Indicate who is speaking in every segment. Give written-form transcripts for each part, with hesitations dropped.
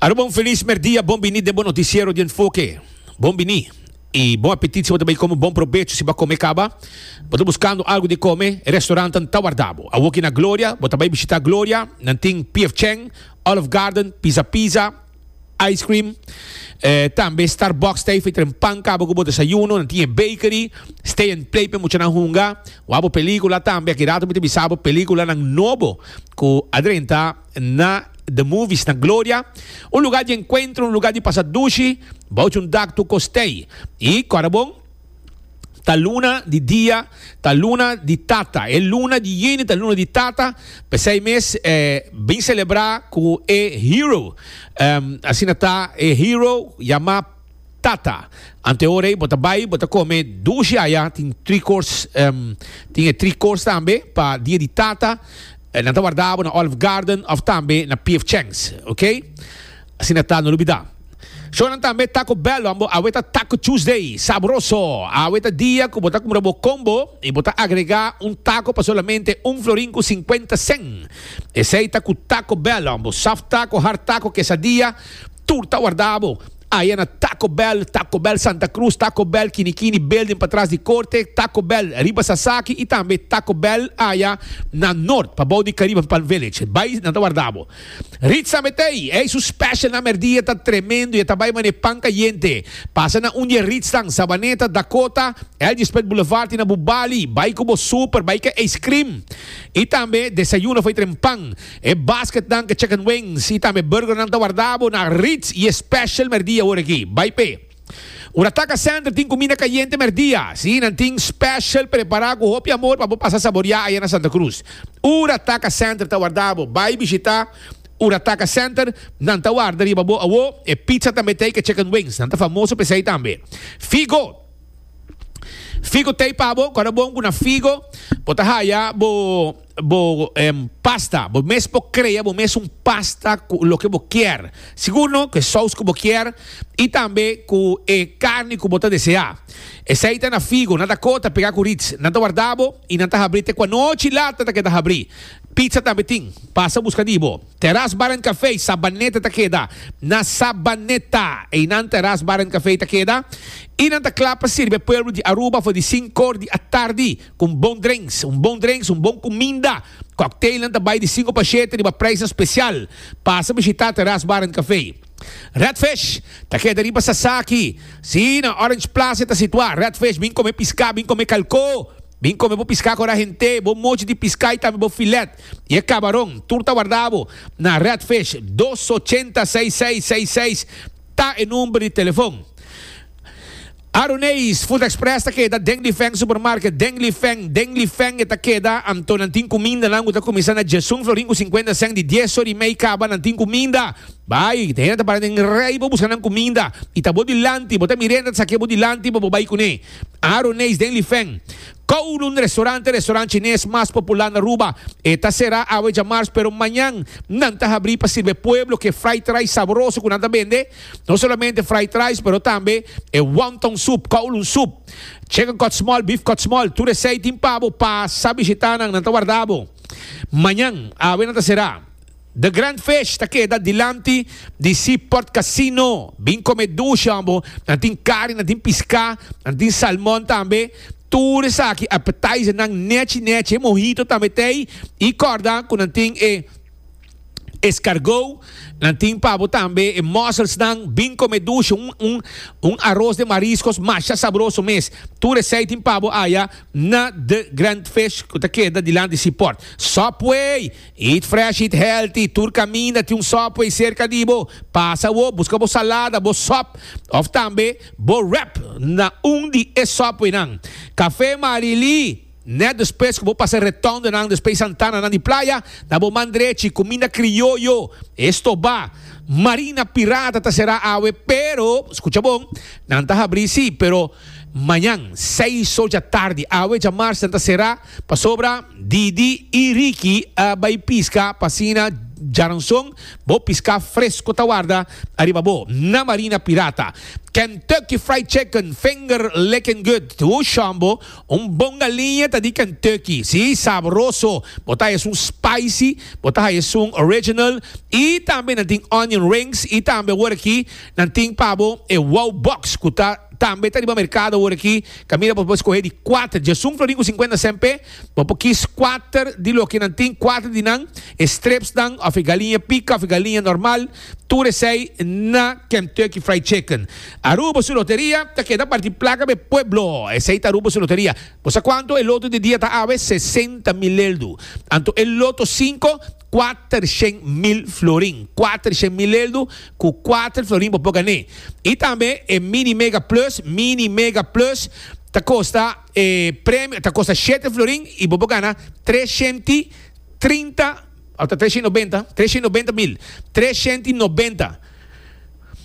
Speaker 1: Aruba un felis merdia, bon bini den bo noticiero di Enfoke. Bon bini y bon apetit si bo ta bay come, bon probecho si bo a come caba. Bo ta buscando algo di come, e restaurantnan ta warda bo. Awoki na Gloria, bo ta bay bishita Gloria, nan tin PF Chang, Olive Garden, Pizza Pizza, Ice cream, tambe Starbucks ta ei tren pan caba cu bo desayuno, nan tin e bakery, stay and play pa e muchanan hunga, wak bo pelicula tambe, aki rato mi ta bisa bo peliculanan nobo cu a drenta na The Movies na Gloria, un lugar di encuentro, un lugar di pasa dushi, bou un dak tur cos t'ei. Y cora bon. Ta luna di dia, ta luna di tata. E luna di juni ta luna di tata. P'esei mes bin selebrá ku e hero. Asina ta e hero yamá tata. Ante ora ei bo ta bai, bo ta kome dushi aya. Tin tri course, tin e tri course tambe pa dia di tata. Nan ta warda bo na Olive Garden òf tambe na PF Chang's. Ok. Asina ta, no lubidá. Shownan tambe Taco Bell ambo awe ta Taco Tuesday sabroso awe ta dia ku bo ta kumpra bo combo y bo ta agrega un taco pa solamente un florin ku 50 cent esey ta ku Taco Bell ambo soft taco hard taco quesadilla tur ta warda bo aya na Taco Bell Taco Bell Santa Cruz Taco Bell Kinikini building patras di corte Taco Bell riba Sasaki y tambe Taco Bell aya na Noord pabou di Caribbean Palm Village bay nan ta warda bo. Ritz a metey, ey su special na merdia ta tremendo y e ta bay mane pan cayente. Pasa na un di e Ritznan, Sabaneta, Dakota, LG Smith Boulevard y na Bubali. Bay cu bo super, bay cu e ice cream. Y tambe desayuno fo'i tren pan. E basketnan cu chicken wings y tambe burgernan ta warda bo na Ritz y e special merdia awor aki. Bay p'e. Urataka Center tin cuminda cayente merdia. Sí, nan tin special prepara cu hopi amor pa bo pasa saboria aya na Santa Cruz. Urataka Center ta warda bo. Bay bishita Urataka Center, nan ta warda riba bo awo. E pizza tambe t'ey cu chicken wings. Nan ta famoso p'esey tambe. Figo. Figo t'ey pa bo. Cuando bon cu na Figo bo ta haya bo. Bo pasta, bo mes por crea bo mes un pasta cu loke bo kier. Sigur no cu e saus cu bo kier y tambe cu e carni cu bo ta desea. Esey ta na Figo, na Dakota pega cu Ritz. Nan ta warda bo y nan ta habri te cu anochi laat nan ta keda habri. Pizza tambe tin. Pasa busca di bo. Terras Bar and Cafe, Sabaneta ta keda na Sabaneta. Eynan Terras Bar and Cafe ta keda y nan ta cla pa sirbi e pueblo di Aruba for di cincor di atardi. Ku un bon drinks, un bon drinks, un bon kuminda. Cocktailnan ta bai di sinku pa shete riba prijsnan spesial. Pasa bishitá Terras Bar and Café. Red Fish ta keda riba Sasaki. Sí, na Orange Plaza e ta situá. Red Fish, bin kome piská, bin kome kalkó. Bin kome bo piská ku ora hent'é, bo mochi di piská i tambe bo filet. I e kabaron, tur ta warda bo na Red Fish. Dos ochenta seis seis seis seis ta e number di telefon. Aruneis, Food Express ta keda den Li Feng Supermarket, den Li Feng, den Li Feng e ta keda, anto nan tin kumindanan ku ta kuminsá na djesun florin ku sinkuenta sèn di dies ora i mei kaba nan tin kuminda. Bai, te hende ta para den rei pa buska nan kuminda i ta bo dilanti, bo ta mir'é nan ta saké bo dilanti pa bo bai kuné. Aruneis den Li Feng. Kowloon Restaurant, e restaurant chines mas popular na Aruba. E ta será awe djamars pero mañan nan ta habrí pa sirbi e pueblo ku e fried rice sabroso ku nan ta bende. No solamente fried rice pero tambe e wonton soup, kowloon soup, chicken cut small, beef cut small, tur esei tin pa bo. Pasa bishita nan, nan ta warda bo. Mañan, awe nan ta será. The Grand Fish ta keda dilanti di Seaport Casino. Bin come dushi hombo. Nan tin kari, nan tin piská, nan tin salmon tambe. Tur esaki appetizernan nechi nechi. E mojito tambe t'ei. I kòrda ku nan tin e escargot, nan tin pa bo tambe e musselsnan. Bin come dushi, un un un aros de mariscos masha sabroso mes. Tur esei tin pa bo aya na The Grand Fish ku ta keda dilanti Seaport. Subway! Eat fresh, eat healthy, tur caminda tin un Subway cerca di bo. Pasa awo, busca bo salada, bo sop of tambe bo wrap na un di e Subwaynan. Café Marily, net despues cu bo pasa retondenan despues Santananan di Playa, na bo man drechi, cuminda crioyo, esto ba. Marina Pirata ta cera awe, pero, scucha bon, nan ta habri si, pero mañan seis or djatardi, awe djamars nan ta cera. Pasobra Didi i Ricky a bai piska pa asina djaranson bo piska fresco ta warda ariba bo na Marina Pirata. Kentucky Fried Chicken, finger licking good. Hu shambo, un bon galiña ta di Kentucky. Si, sabroso. Bo ta haya esun spicy, bo ta haya esun original y tambe nan tin onion rings y tambe awor aki nan tin pa bo e wow box cu ta tambe ta riba mercado awor aki. Caminda bo por scoge di cuater, diesun florin cu cincuenta cent pe. Bo por kis cuater di loke nan tin, cuater di nan, e stripsnan of e galiña pica of e galiña normal. Tur esei na Kentucky Fried Chicken. Aruba su loteria ta keda parti placa pa e pueblo. Esei ta Aruba su loteria. Bo sa cuanto e loto di dia ta awe? 60 mil eldu. Anto e loto cinco, cuatershen mil florin. Cuatershen mil eldu cu cuater florin bo por gané. Y tambe e Mini Mega Plus, Mini Mega Plus, ta costa e premio, ta costa shete florin y bo por gana treshenti trinta. Ota 390, 390 mil, 390,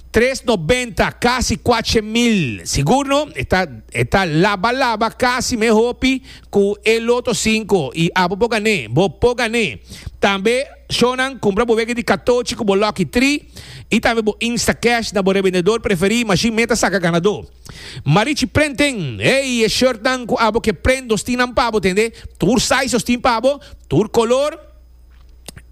Speaker 1: 390, casi cuache mil. Sigur no, e ta, e ta laba laba casi me hopi cu e loto cinco y abo por gané, bo por gané. Tambe shownan cumpra bo wega di catochi cu bo lucky tree y tambe bo instacash na bo rebendedor preferi, mashin meta saca ganador. Marichi Printing, ey e shirtnan cu abo ke print nos tin nan pa bo tende, tur size nos tin pa bo, tur color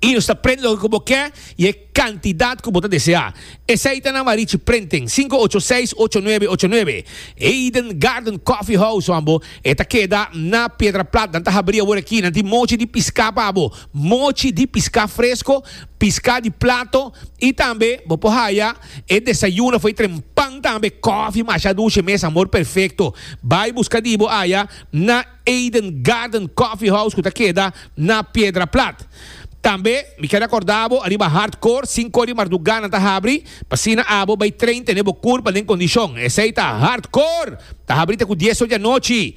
Speaker 1: y nos ta print loke cu bo ke y e cantidad cu bo ta desea. Esey ta na Marichi Printing, 586-8989. Eden Garden Coffee House wan bo, e ta keda na Piedra Plat, nan ta habri awor aki, nan tin mochi di pisca pa bo, mochi di pisca fresco, pisca di plato y tambe bo por haya. E desayuno foi trempan tambe, koffie masha dushi mes, amor perfecto. Bai busca di bo aya na Eden Garden Coffee House cu ta keda na Piedra Plat. Tambe mi kier acorda bo ariba Hardcore, cinco di marduga nan ta habri, pa asina abo bai train tene bo curpa den condicion. Esey ta Hardcore! Ta habri te cu dies or di anochi.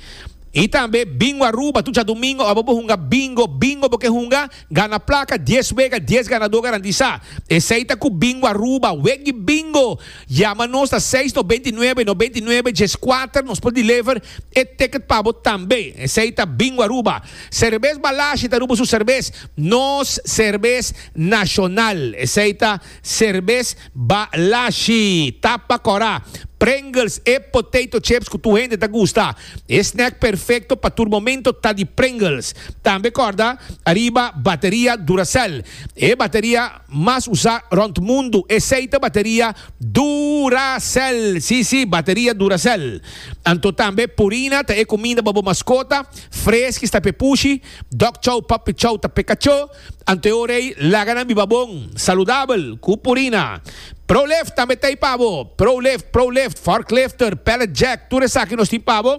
Speaker 1: Y tambe Bingo Aruba, tur djadomingo abo bo hunga bingo, bingo bo ke hunga? Gana plaka, dies wega, dies ganadó garantisa. Esei ta ku Bingo Aruba, wegi bingo! Yama nos na seis 99 99 dieskuater, nos por deliver e ticket pa bo tambe. Esei ta Bingo Aruba. Cerbes Balashi ta Aruba su cerbes, nos cerbes nashonal. Esei ta Cerbes Balashi. Tapa kòrá. Pringles, e potato chips ku tur hende ta gusta. E snack perfecto pa tur momento ta di Pringles. Tambe corda ariba bateria Duracell. E bateria mas usa rond mundo. Esey ta bateria Duracell. Si si, bateria Duracell. Anto tambe Purina ta e cuminda pa bo mascota. Friskies ta p'e pushi. Dog chow, puppy chow ta p'e cacho. Anto e ora ei laga nan biba bon, saludabel, ku Purina. Prolift tambe ta ei pa bo. Prolift, Prolift, forklifter, pallet jack, tur esaki nos tin pa bo.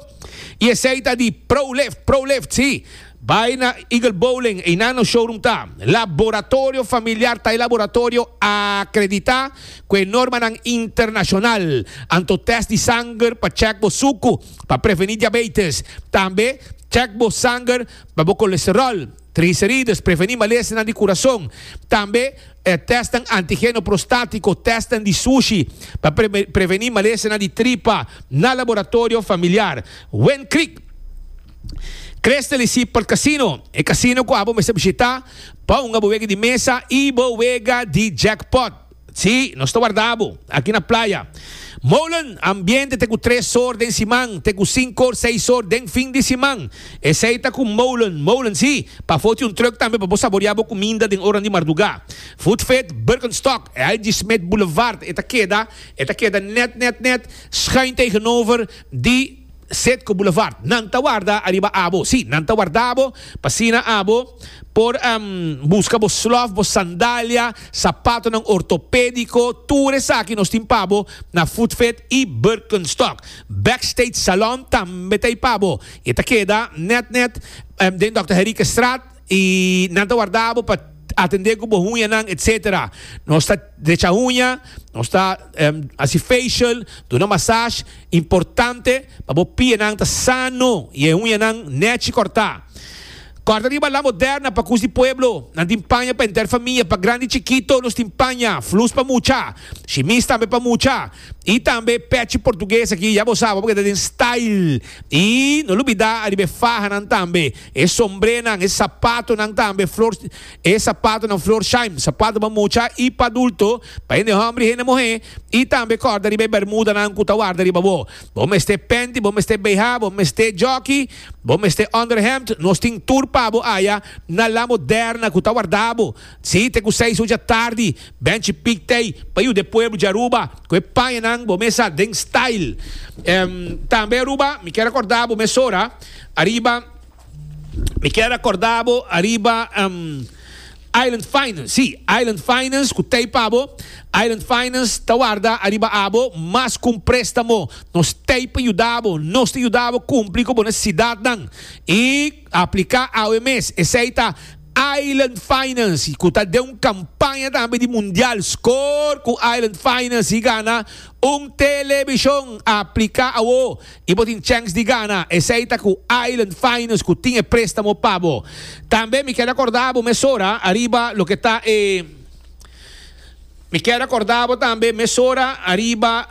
Speaker 1: I esei ta di Prolift, Prolift, sí. Bai na Eagle Bowling, einan nos showroom ta. Laboratorio Familiar ta e laboratorio akreditá ku e normanan internashonal. Anto tèst di sanger pa chèk bo suku, pa prevení diabetes. Tambe chèk bo sanger pa bo kolesteròl. Triglicerides, prevení malesanan di kurason. Tambe e tèstnan antigeno prostátiko, tèstnan di sushi pa prevení malesanan di tripa na laboratorio familiar. Wind Creek. Crystal y Seaport Casino, e casino ku abo mester bishitá pa hunga bo wega di mesa i bo wega di jackpot. Sí, nos ta warda bo aki na playa. Molen, ambiente te ku tres or den siman, te ku sinku or, seis or den fin di siman. Esei ta ku Molen. Molen, sí, pafó tin un truck tambe pa bo saboreá bo kuminda den oran di mardugá. Food Fit, Birkenstock, LG Smith Boulevard, e ta keda, e ta keda nèt, nèt, nèt schuin tegenover di. Citgo Boulevard. Nan ta warda ariba abo. Sí, nan ta warda bo pa asina abo por busca bo slof, bo sandalia, sapatonan ortopedico. Tur esaki nos tin pa bo na Footfit y Birkenstock. Backstage Salon tambe ta ei pa bo. E ta keda net net den Dòkter Henriquezstraat. Y nan ta warda bo pa atende cu bo huñanan etc. Nos ta drecha huña, nos ta haci facial, duna massage. Importante pa bo pianan ta sano y e huñanan nechi corta. Kòrda riba La Moderna pa kus di pueblo. Nan tin paña pa henter famia, pa grandi i chikito nos tin paña, flus pa mucha, shimis tambe pa mucha i tambe pechi portugues aki ya bo sa bo por keda den style. I no lubida ariba e fahanan tambe, e sombrenan, e sapatonan tambe, flor e sapatonan Florsheim, sapato pa mucha i pa adulto, pa hende hòmber i hende muhé, i tambe kòrda riba e bermudanan ku ta warda riba bo. Bo mester penti, bo mester BH, bo mester jockey, bo mester onderhemd, nos tin tur pa bo aya na La Moderna cu ta warda bo. Si, te cu seis ocha tardi, Benchi Piek t'ey pa yuda e pueblo di Aruba cu e pañanan bo mesa den style. Tambe Aruba, mi kier acorda bo mesora ariba. Mi kier acorda bo ariba Island Finance. Sí, Island Finance cu t'ey pa bo. Island Finance ta warda ariba abo mas cu un prestamo. Nos t'ey pa yuda bo. Nos ta yuda bo cumpli cu bo necesidadnan. Y aplica awe mes. Esey ta Island Finance cu ta den un campaña tambe di mundial. Score cu Island Finance y gana un television. Aplica awo. I bo tin chèns di gana. Esei ta ku Island Finance ku tin e préstamo pa bo. Tambe mi kier akorda bo mesora ariba loke ta e Mi kier akorda bo tambe mesora ariba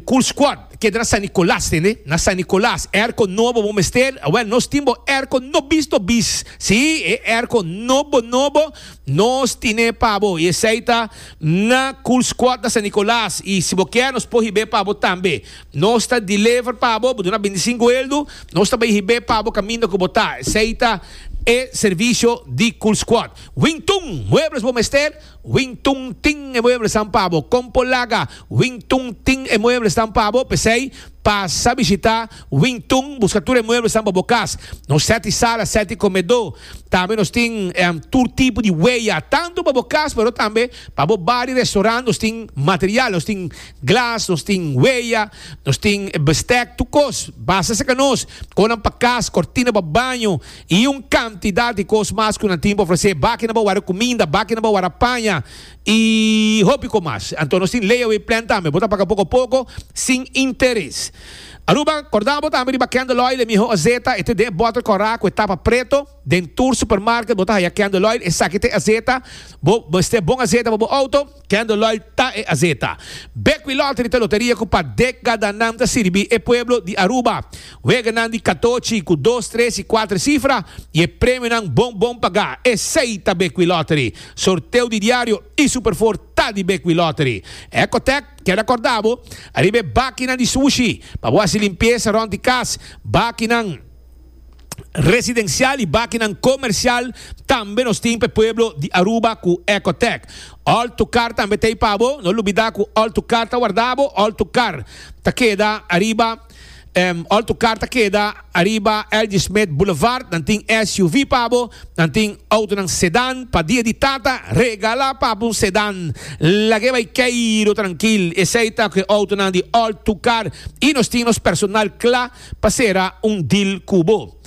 Speaker 1: Cool Squad. Keda na San Nicolas, tende? Na San Nicolas. Airco nobo bo mester? Awel, nos tin bo airco nobis nobis. Sí, e airco nobo nobo nos tine pa bo. I esei ta na Cool Squad na San Nicolas. I si bo kier nos por hib'é pa bo tambe. Nos ta deliver pa bo, bo duna bintisinko eldu, nos ta bai hib'é pa bo kaminda ku bo ta. Esei ta e servisio di Cool Squad. Wingtun, muebles bo mester? Wingtun tin e mueblesnan pa bo. Kon por laga? Wingtun tin e mueblesnan pa bo. P'esei, pasa bishitá Wingtun, buska tur e mueblesnan pa bo kas. Nos sèt di sala, sèt di komedó. Tambe nos tin tur tipo di weya, tantu pa bo kas pero tambe pa bo bar i restorant. Nos tin material, nos tin Glas, nos tin weya, nos tin bestek, tur kos. Basta saka nos, konan pa kas, kortina pa baño i un kantidat di kos mas ku nan tin pa ofresé. Bakinan pa wara kuminda, bakinan pa wara paña i hopi kos mas. Anto nos tin layaway plan tambe, bo ta paga poko poko sin interes. Aruba, korda bo tambe riba candle oil, e miho azeta, e ta den e bòter kòrá ku e tapa preto. Den tur supermarket bo ta haya candle oil, esaki ta e azeta. Bo mester bon azeta pa bo outo. Candle Oil ta e azeta. Bequi Lottery ta loteria cu pa decadanan ta sirbi e pueblo di Aruba. Weganan di catochi cu dos, tres y cuater cifra y e premionan bon bon paga. Esey ta Bequi Lottery. Sorteo di diario y Super Four ta di Bequi Lottery. Ecotec kier acorda bo ariba e bakinan di sushi pa bo haci limpieza rond di cas. Bakinan. Residencial y bakinan comercial tambe nos tin pa e pueblo di Aruba cu Ecotec. All to Car tambe ta ey pa bo. No lubida cu All to Car ta warda bo. All to Car ta keda ariba All to Car ta keda ariba LG Smith Boulevard. Nan tin SUV pa bo. Nan tin autonan sedan pa dia di tata. Regala pa bo un sedan. Lag'e bay keiro trankil. Esey ta cu e autonan di All to Car. Y nos tin nos personal cla. Pa sera un deal ku bo.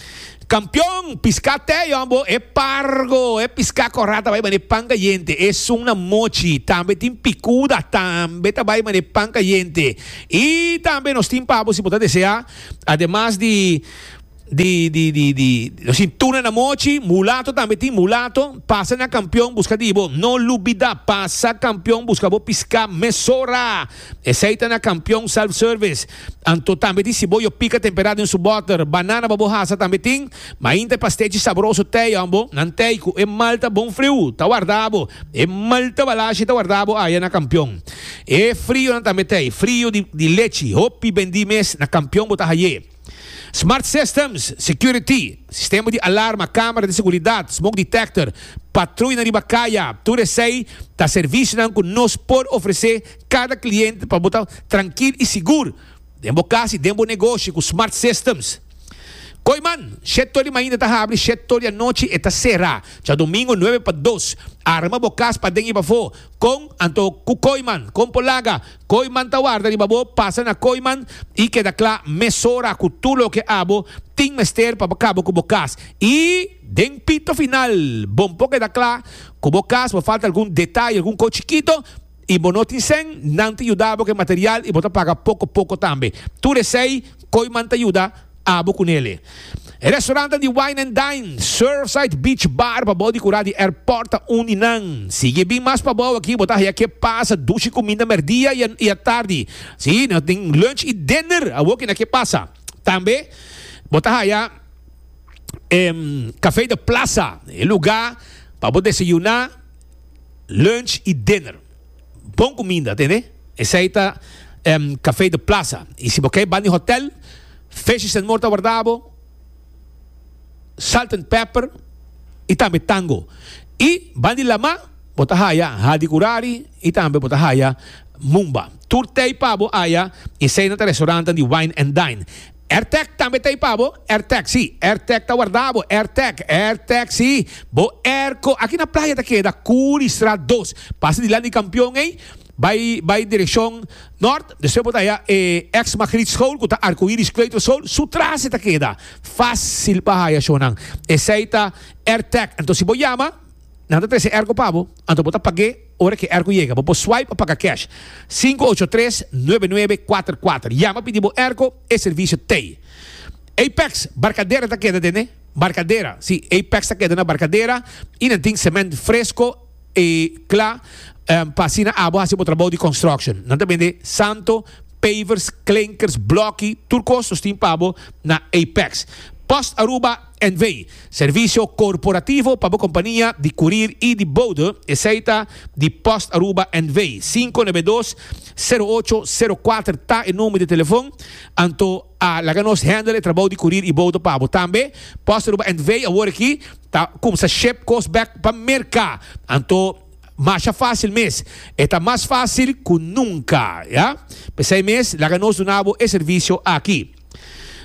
Speaker 1: Kampion, piská te yon bo e pargo, e piská kòrá ta bai manera pan kayente, esun na mochi, tambe tin pikuda, tambe ta bai manera pan kayente. I tambe nos tin pa bo si bo ta deseá, ademas di di di di di nos tin tuna na mochi, mulato tambe tin, mulato, pasa na Kampion buska di bo, no lubidá, pasa Kampion buska bo piská mesora. Esei ta na Kampion Self Service. Anto tambe tin siboyo pika tempera den su boter. Banana pa bo hasa tambe tin. Mainta e pastechi sabroso tei hombo. Nan tei ku e malta bon friu ta warda bo. E malta balashi ta warda bo aya na Kampion. E frionan tambe tei. Frio di lechi. Hopi bendi mes na Kampion bo ta haye. Smart Systems, Security, sistema di alarma, camera di seguridad, smoke detector, patruyanan riba caya, tur esey ta servicionan cu nos por ofrece cada cliente pa bo ta trankil y sigur den bo cas y den bo negoshi cu Smart Systems. Kooiman, shet tor di mainta ta habri, shet tor di anochi e ta cera. Djadomingo nuebe pa dos. Arma bo cas paden y pafo. Con anto cu Kooiman? Con por laga? Kooiman ta warda riba bo, pasa na Kooiman y keda cla mesora cu tur loke abo tin mester pa bo caba cu bo cas. Y den pito final, bon por keda cla cu bo cas, bo falta algun detaye, algun cos chikito y bo no tin cen, nan ta yuda bo cu e material y bo ta paga poco poco tambe. Tur esey Kooiman ta yuda abo cu nele. E restaurantnan di Wine and Dine, Surfside Beach Bar pabou di kura di airport ta un di nan. Sigui bin mas pabou aki bo ta haya ke pasa dushi kuminda merdia i atardi. Si, nan tin lunch i dinner awor ki na ke pasa. Tambe bo ta haya e Café de Plaza, e luga pa bo desayuna, lunch i dinner. Bon kuminda, tende? Esei ta Café de Plaza. I si bo ke ban di hotel, Fishes and More ta warda bo, Salt and Pepper i tambe Tango. I ban di lama bo ta haya Hadicurari i tambe bo ta haya Mumba. Tur tei pa bo aya i esei nan ta restaurantnan di Wine and Dine. Airtag tambe ta ei pa bo. Airtag, sí. Airtag ta warda bo. Airtag, Airtag, sí. Bo airco aki na playa ta keda Curistraat dos. Pasa dilanti di Kampion ei, bai bai direkshon nort. Despues bo ta haya e ex Magriet School ku ta Arcoiris Kleuterschool. Su tras e ta keda. Fácil pa haya shownan. Esei ta Airtag. Anto si bo yama, nan ta trese airco pa bo. Anto bo ta pag'é. Ora ku e airco yega, bo por swipe o paga cash. 583 9944. Yama pidi bo airco, e servicio t'ey. Apex, Barcadera ta keda den e Barcadera. Si, Apex ta keda na Barcadera y nan tin cement fresco y cla pa asina abo haci bo trabou di construction. Nan ta bende santo, pavers, klinkers, bloki, tur cos nos tin pa bo na Apex. Post Aruba. NV. Servicio corporativo pa bo compania di curir y di bode, esey ta di Post Aruba NV. 592 0804 ta e number di telefon, anto a laga nos handle e trabou di curir y bode pa bo. Tambe Post Aruba NV awor aki ta cumsa ship cos bek pa Merca, anto masha facil mes. E ta mas facil cu nunca, ya. P'esey mes laga nos duna bo e servicio aki.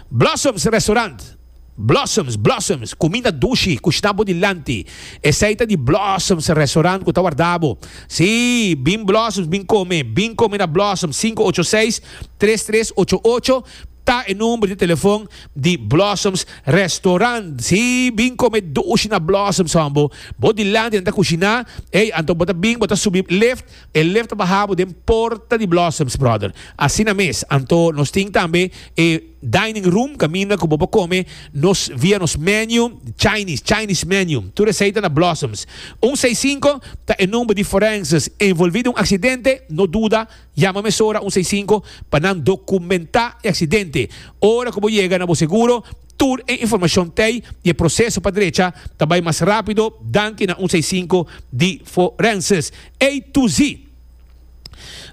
Speaker 1: Blossoms Restaurant. Blossoms, Blossoms, kuminda dushi, kushná bo dilanti. Esei ta di Blossoms Restaurant ku ta warda bo. Sí, bin Blossoms, bin kome, bin kome na Blossoms. 586 3388 ta e number di telefon di Blossoms Restaurant. Sí, bin kome dushi na Blossoms, hòmbo. Bo dilanti nan ta kushiná. Ey, anto bo ta bin, bo ta subi lift, e lift ta baha bo den porta di Blossoms, brother. Asina mes. Anto nos tin tambe e. Dining room kaminda ku bo por kome nos via nos menu Chinese, Chinese menu. Tur esei ta na Blossoms. Un seis sinku ta e number di forenses envolvi den un aksidente, no duda, yama mesora un seis sinku pa nan dokumentá e aksidente. Ora ku bo yega na bo seguro, tur e informashon t'ei i e proseso pa drecha ta bai mas rápido danki na un seis sinku di forenses. A to Z.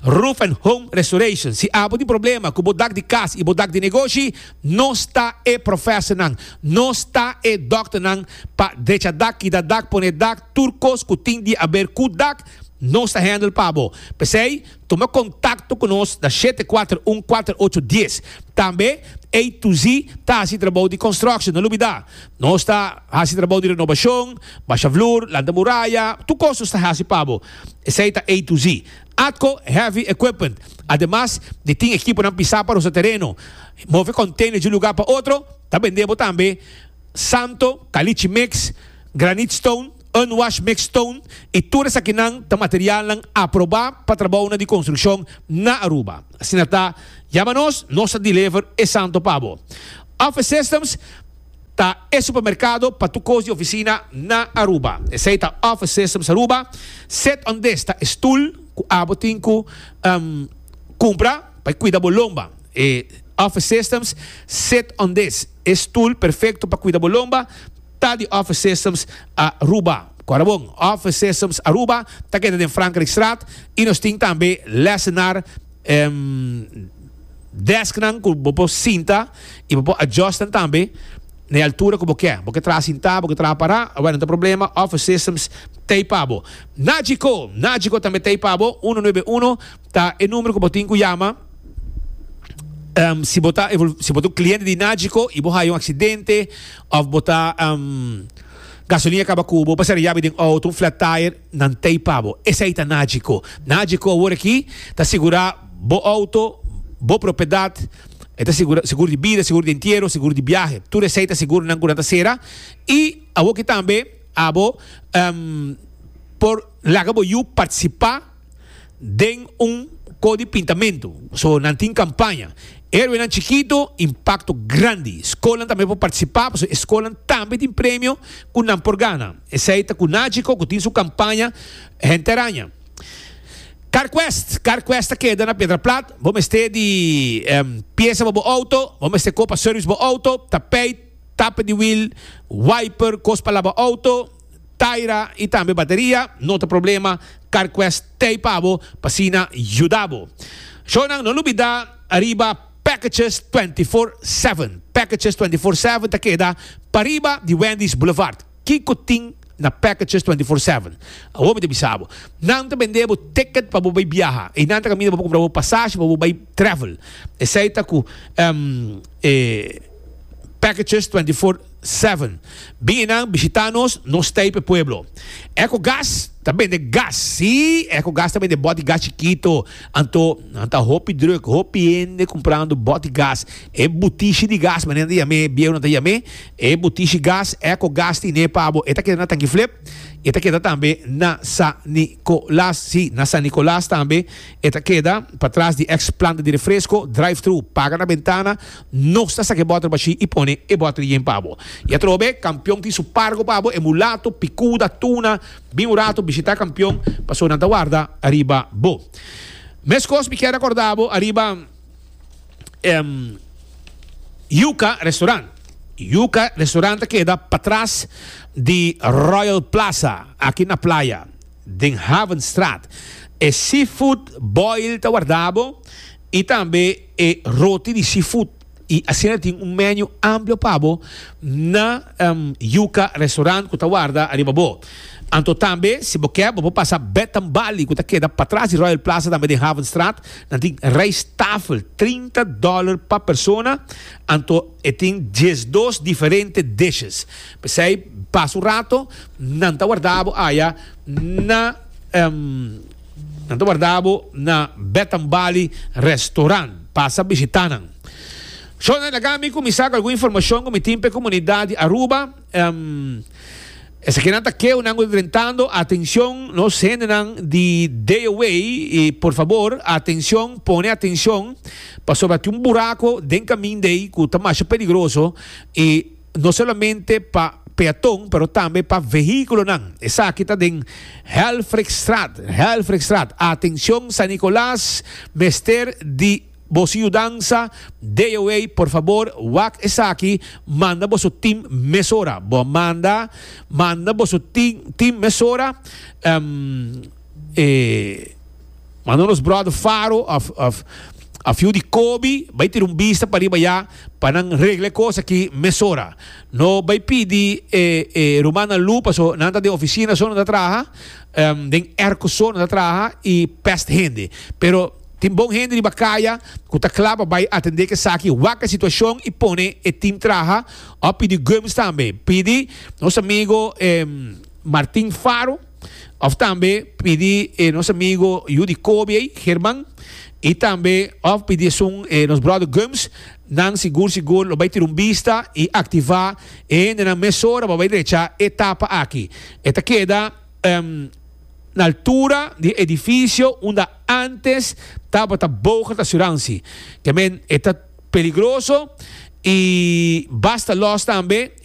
Speaker 1: Roof and Home Restoration. Si abo tin problema ku bo dak di kas i bo dak di negoshi, nos ta e profesornan. Nos ta e dòkternan pa drecha dak, kita dak, pone dak, tur kos ku tin di aber ku dak, nos ta handle pa bo. P'esei, tuma kontakto ku nos na 741 48 dies. Tambe, A to Z ta hasi trabou di construction, no lubida. Nos ta hasi trabou di renobashon, basha vloer, lanta muraya, tur kos nos ta hasi pa bo. Esei ta A to Z. Atco Heavy Equipment, ademas di tin ekiponan pisá pa rosa tereno, move container di un lugar pa otro, ta bende bo tambe santo, caliche mix, granite stone, unwash mix stone y tur esakinan ta materialnan aproba pa trabounan di construccion na Aruba. Asina ta, yama nos, nos ta deliver e santo pa bo. Office Systems. Ta e supermercado pa tur cos di oficina na Aruba. Esey ta Office Systems Aruba. Sit on this ta e stoel cu abo tin cu cumpra pa e cuida bo lomba. E Office Systems Sit on this, e stoel perfecto pa cuida bo lomba, ta di Office Systems Aruba. Cora bon, Office Systems Aruba ta keda den Frankrijkstraat y nos tin tambe lessenaar. Desknan ku bo por sinta i bo por adjust nan tambe na e altura ku bo ke. Bo ke traha sintá, bo ke traha pará, awor no ta problema, Office Systems t'ei pa bo. Nagico, Nagico tambe t'ei pa bo, uno nuebe uno ta e numero ku bo tin ku yama si bo ta si bo ta un kliente di Nagico i bo haya un aksidente òf bo ta gasolina kaba ku bo, bo sera yabi den outo, un flat tire. Nan t'ei pa bo. Esei ta Nagico. Nagico awor aki ta sigurá bo outo, bo propiedat, e ta sigurá seguro di bida, seguro di entiero, seguro di biahe. Tur esei ta seguronan ku nan ta sera. I awor aki tambe abo por laga bo yu partisipá. den un ko di pintamentu. So nan tin kampaña. Héroenan chikito, impakto grandi. Skolnan tambe por partisipá pasobra e skolnan tambe tin premio ku nan por gana. Esei ta ku Nagico ku tin su kampaña Henter Aña. CarQuest, CarQuest ta keda na Piedra Plat. Bo mester di piesa pa bo outo, bo mester kopa service bo outo, tapijt, tape di wiel, wiper, kos pa laba outo, taira y tambe bateria, no ta problema, CarQuest t'ey pa bo pa asina yuda bo. Shownan, no lubida ariba Packages 24/7. Packages 24/7 ta keda pariba di Wendy's Boulevard. Kico tin na Packages 24/7? Awor mi ta bisa bo. Nan ta bende bo ticket pa bo bay biaha. Eynan ta caminda pa bo cumpra bo pasashi pa bo bay travel. Esey ta cu e Packages 24/7. Bin einan bishita nos, nos ta ei pa e pueblo. Ecogas ta bende gas, sí, Ecogas ta bende bòti gas chikito. Anto nan ta hopi druk, hopi hende kumprando bòti gas. E butishi di gas, manera nan ta yam'é, bieunan ta yam'é, e butishi gas, Ecogas tine pa bo. E ta keda na Tankiflip, e ta keda tambe na San Nicolas, sí, na San Nicolas tambe e ta keda, patras di ex planta di refresco, drive thru, paga na bentana. Nos ta saka e bòter bashí i pone e bòter yen pa bo. I atrobe, Kampion tin su pargo pa bo, e mulato, pikuda, tuna. Bin un rato bishitá Kampion, pasobra nan ta warda ariba bo. Meskos mi kier rekordá bo ariba Yuca Restaurant. Yuca Restaurant ta keda patras di Royal Plaza, aki na Playa, den Havenstraat. E seafood boil ta warda bo i tambe e roti di seafood y asina tin un menu amplio pa bo na Yuca Restaurant cu ta warda ariba bo. Anto tambe si bo ke bo por pasa Betambali cu ta keda patras di Royal Plaza tambe den Havenstraat. Nan tin rijsttafel 30 dollar pa persona anto e tin 12 diferente dishes. P'esey pasa un rato nan ta warda bo aya na. Nan ta warda bo na Betambali Restaurant. Pasa bishita nan. Shona, laga mi kuminsá ku algun informashon ku mi tin pa e komunidat di Aruba. Esakinan ta keunan ku ta drentando. Atenshon nos hendenan di DOW i por fabor atenshon, pone atenshon pasobra tin un burako den kaminda ei ku ta masha peligroso i No solamente pa peaton, pero tambe pa vehiculonan. Esaki ta den Helfrichstraat, Helfrichstraat. Atencion San Nicolas mester di boso yudansa. DOA por fabor wak esaki, manda boso team mesora. Bo manda, manda boso team, team mesora. E manda nos brother Faro of of of yu di Kobe bai tira un bista pariba ya pa nan regla e kos aki mesora. No bai pidi e e rumannan Lu paso nan ta den oficina so nan ta traha den airco so nan ta traha y pest hende. Pero tin bon hende riba kaya ku ta kla pa bai atende ku esaki, wak e situacion y pone e team traha of pidi Gumbs tambe. Pidi nos amigo Martin Faro. Of tambe pidi e nos amigo yu di Kobe ei, German, i tambe of pidi esun e nos brother Gumbs, nan sigur sigur lo bai tira un bista i aktivá e hendenan mesora pa bai drecha e tapa aki. E ta keda na altura di e edifisio unda antes tabata Bogart Assurantie. Ke men e ta peligroso i basta lòs tambe.